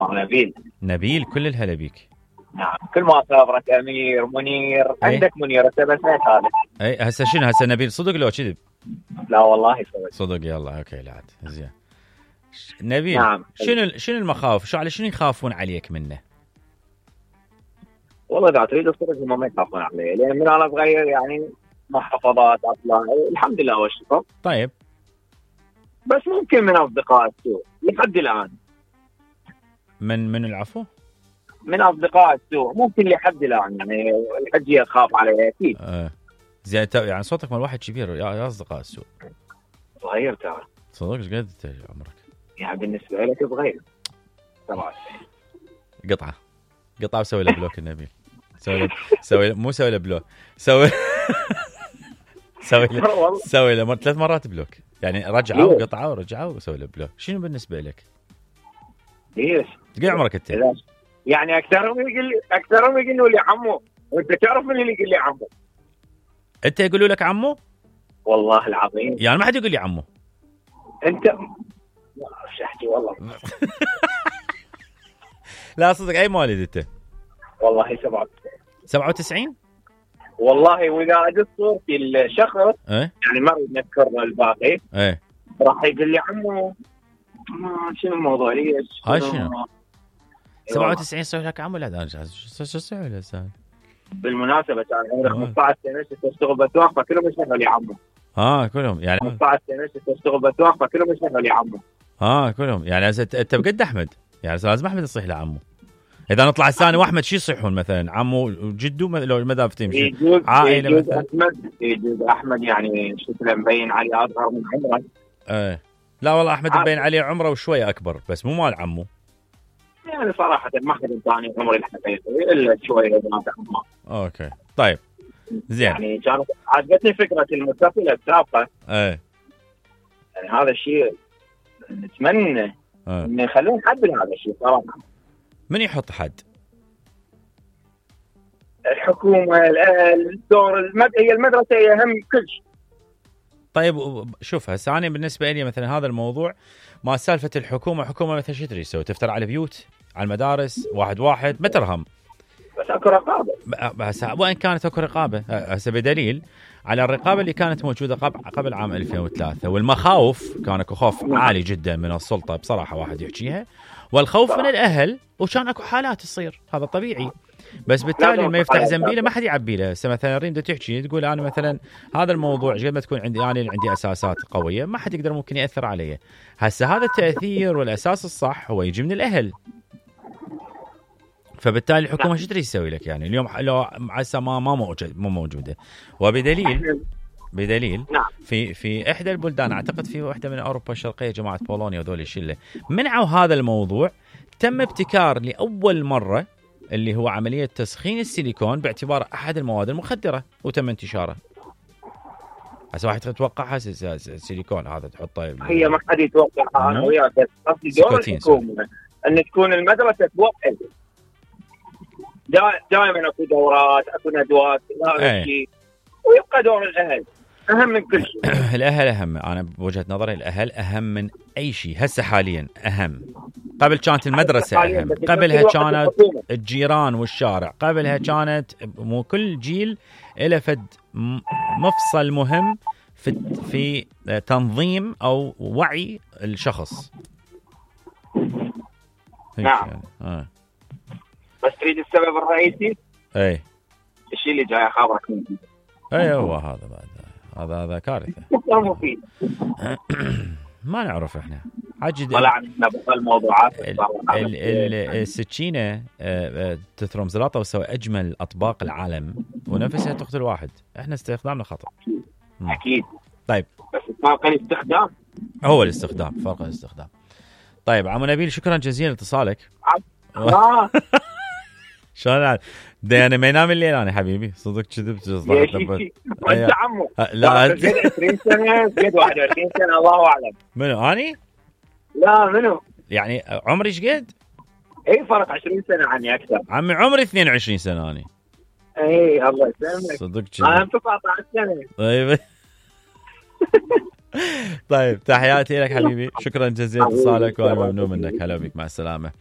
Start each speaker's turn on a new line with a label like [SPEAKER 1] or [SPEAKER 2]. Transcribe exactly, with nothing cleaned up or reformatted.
[SPEAKER 1] نبيل.
[SPEAKER 2] نبيل، كل الهلا بيك.
[SPEAKER 1] نعم، كل ما صابرك امير منير.
[SPEAKER 2] أي.
[SPEAKER 1] عندك منير هسه بس ما هذا.
[SPEAKER 2] اي هسه شنو هسه نبيل صدق لو كذب؟
[SPEAKER 1] لا والله صدق.
[SPEAKER 2] صدق. يلا اوكي لا عاد زين. نبيل
[SPEAKER 1] نعم.
[SPEAKER 2] شنو شنو المخاوف؟ شو على شنو يخافون عليك منه؟
[SPEAKER 1] والله اذا تريد الصدق هم ما يخافون علي، لان من انا صغير يعني محافظات اطلع الحمد لله والشكر.
[SPEAKER 2] طيب
[SPEAKER 1] بس ممكن من اصدقاء السوء لحد الان.
[SPEAKER 2] من من العفو؟
[SPEAKER 1] من اصدقاء السوء ممكن لحد الان يعني الحجيه تخاف علي اكيد.
[SPEAKER 2] آه. زين يعني صوتك مال واحد كبير يا, يا اصدقاء السوء.
[SPEAKER 1] صغير ترى.
[SPEAKER 2] صدق ايش قد عمرك؟
[SPEAKER 1] يعني بالنسبه لك صغير. سبعة وتسعين.
[SPEAKER 2] قطعه قطعه وسوي له بلوك النبيل. سوي له سوي مو سوي له بلوك سوي سوي له سوي له ثلاث مرات بلوك، يعني رجعه وقطعه ورجعه وسوي له بلوك. شنو بالنسبه لك؟
[SPEAKER 1] ايش؟
[SPEAKER 2] قد عمرك انت؟
[SPEAKER 1] يعني اكثرهم يقول لي اكثرهم يقولوا لي عمو، وانت تعرف من اللي يقول لي عمو؟
[SPEAKER 2] انت يقولوا لك عمو؟
[SPEAKER 1] والله العظيم
[SPEAKER 2] يعني ما حد يقول لي عمو.
[SPEAKER 1] انت ما اعرف احكي والله.
[SPEAKER 2] لا صدق. اي مواليد انت؟
[SPEAKER 1] والله سبعة وتسعين.
[SPEAKER 2] سبعة وتسعين
[SPEAKER 1] والله. واذا ادز صورتي الشخص
[SPEAKER 2] ايه؟
[SPEAKER 1] يعني ما اريد نذكر الباقي
[SPEAKER 2] ايه
[SPEAKER 1] راح يقول لي عمو. ما شنو الموضوع ليش؟
[SPEAKER 2] هاي شنو؟ سبعة وتسعين صار لك عمو؟ لا ده شو شو سوي له سهل.
[SPEAKER 1] بالمناسبة كان عمري خمسة عشر سنة تشتغل بتوقف فكلهم يشتغلوا لي عمو.
[SPEAKER 2] اه كلهم يعني
[SPEAKER 1] خمسة عشر سنة تشتغل بتوقف فكلهم يشتغلوا لي عمو.
[SPEAKER 2] اه كلهم يعني انت بقد احمد، يعني لازم احمد يصيح له عمو. اذا نطلع الثاني واحمد شو يصيحون مثلا؟ عمو وجدو لو المذاهب تمشي عائله
[SPEAKER 1] يجوز
[SPEAKER 2] مثلا.
[SPEAKER 1] احمد يجوز احمد يعني شكله مبين عليه اصغر من عمره.
[SPEAKER 2] ايه لا والله احمد مبين عليه عمره وشويه اكبر بس مو مال عمو.
[SPEAKER 1] يعني صراحه ما حد ثاني عمري الحقيقي الا شويه بنات عمه.
[SPEAKER 2] اوكي طيب زين.
[SPEAKER 1] يعني كانت عجبتني فكره المتصله السابقه.
[SPEAKER 2] ايه
[SPEAKER 1] يعني هذا الشيء نتمنى
[SPEAKER 2] ايه
[SPEAKER 1] انه يخلون حد لهذا الشيء صراحه.
[SPEAKER 2] من يحط حد؟
[SPEAKER 1] الحكومه، الاهل، الدور، المد... هي المدرسه هي اهم كل شيء.
[SPEAKER 2] طيب شوف هسه انا بالنسبه لي مثلا هذا الموضوع ما سالفه الحكومه. حكومه مثلا شو تريد تسوي؟ تفتر على بيوت، على المدارس، واحد واحد ما ترهم.
[SPEAKER 1] بس اكو رقابه.
[SPEAKER 2] بس وان كانت اكو رقابه هسه بدليل على الرقابه اللي كانت موجوده قبل قبل عام ألفين وثلاثة، والمخاوف كان اكو خوف عالي جدا من السلطه بصراحه واحد يحكيها، والخوف من الاهل، وكان اكو حالات تصير هذا طبيعي. بس بالتالي ما يفتح زنبيله ما حد يعبي له. هسه مثلا ريم تحكي تقول انا مثلا هذا الموضوع قد ما تكون عندي انا عندي اساسات قويه ما حد يقدر ممكن ياثر علي. هسه هذا التاثير والاساس الصح هو يجي من الاهل. فبالتالي الحكومه شو تريد تسوي لك؟ يعني اليوم لو هسه ما ما موجود مو موجوده، وبدليل بدليل في في احدى البلدان اعتقد في واحده من اوروبا الشرقيه جماعه بولونيا وذول الشله منعوا هذا الموضوع. تم ابتكار لاول مره اللي هو عمليه تسخين السيليكون باعتباره احد المواد المخدره وتم انتشاره. هسه واحد يتوقع السيليكون هذا تحطه
[SPEAKER 1] هي ما حد يتوقع. انا وياك بس قصدي دور الحكومه ان تكون المدرسه توقف. دائما اكو دورات اكو ندوات هذا الشيء، ويبقى دور الاهل اهم من كل شيء.
[SPEAKER 2] الاهل اهم. انا بوجهه نظري الاهل اهم من اي شيء هسه حاليا. اهم قبل كانت المدرسه اهم، قبلها كانت الجيران والشارع، قبلها كانت مو كل جيل له فد مفصل مهم في في تنظيم او وعي الشخص.
[SPEAKER 1] نعم.
[SPEAKER 2] يعني. آه.
[SPEAKER 1] بس تريد السبب الرئيسي؟
[SPEAKER 2] اي
[SPEAKER 1] الشيء اللي جاي خبرك منه.
[SPEAKER 2] اي هو هذا بعد هذا هذا كارثه.
[SPEAKER 1] مفيد.
[SPEAKER 2] ما نعرف احنا عجد
[SPEAKER 1] طلعنا بالموضوعات.
[SPEAKER 2] السكينه تثرم زلاطه وتسوي اجمل اطباق العالم ونفسها تقتل واحد. احنا استخدامنا خطا.
[SPEAKER 1] اكيد.
[SPEAKER 2] طيب
[SPEAKER 1] بس فرق الاستخدام.
[SPEAKER 2] هو الاستخدام فرق الاستخدام. طيب عمو نبيل شكرا جزيلا لاتصالك.
[SPEAKER 1] اه
[SPEAKER 2] شلون انا ما ينام الليل انا حبيبي صدق كذبت.
[SPEAKER 1] انت عمو
[SPEAKER 2] لا
[SPEAKER 1] عشرين سنه قد واحد وعشرين سنه الله اعلم.
[SPEAKER 2] منو اني؟
[SPEAKER 1] لا منو
[SPEAKER 2] يعني عمري ايش قد؟
[SPEAKER 1] اي فرق عشرين سنه عني اكثر.
[SPEAKER 2] عمي عمري اثنين وعشرين سنه اني.
[SPEAKER 1] اي الله يسلمك.
[SPEAKER 2] صدق
[SPEAKER 1] انا تسعة عشر سنه.
[SPEAKER 2] طيب طيب تحياتي لك حبيبي، شكرا جزيلا اتصالك وانا ممنون منك. هلا بك مع السلامه.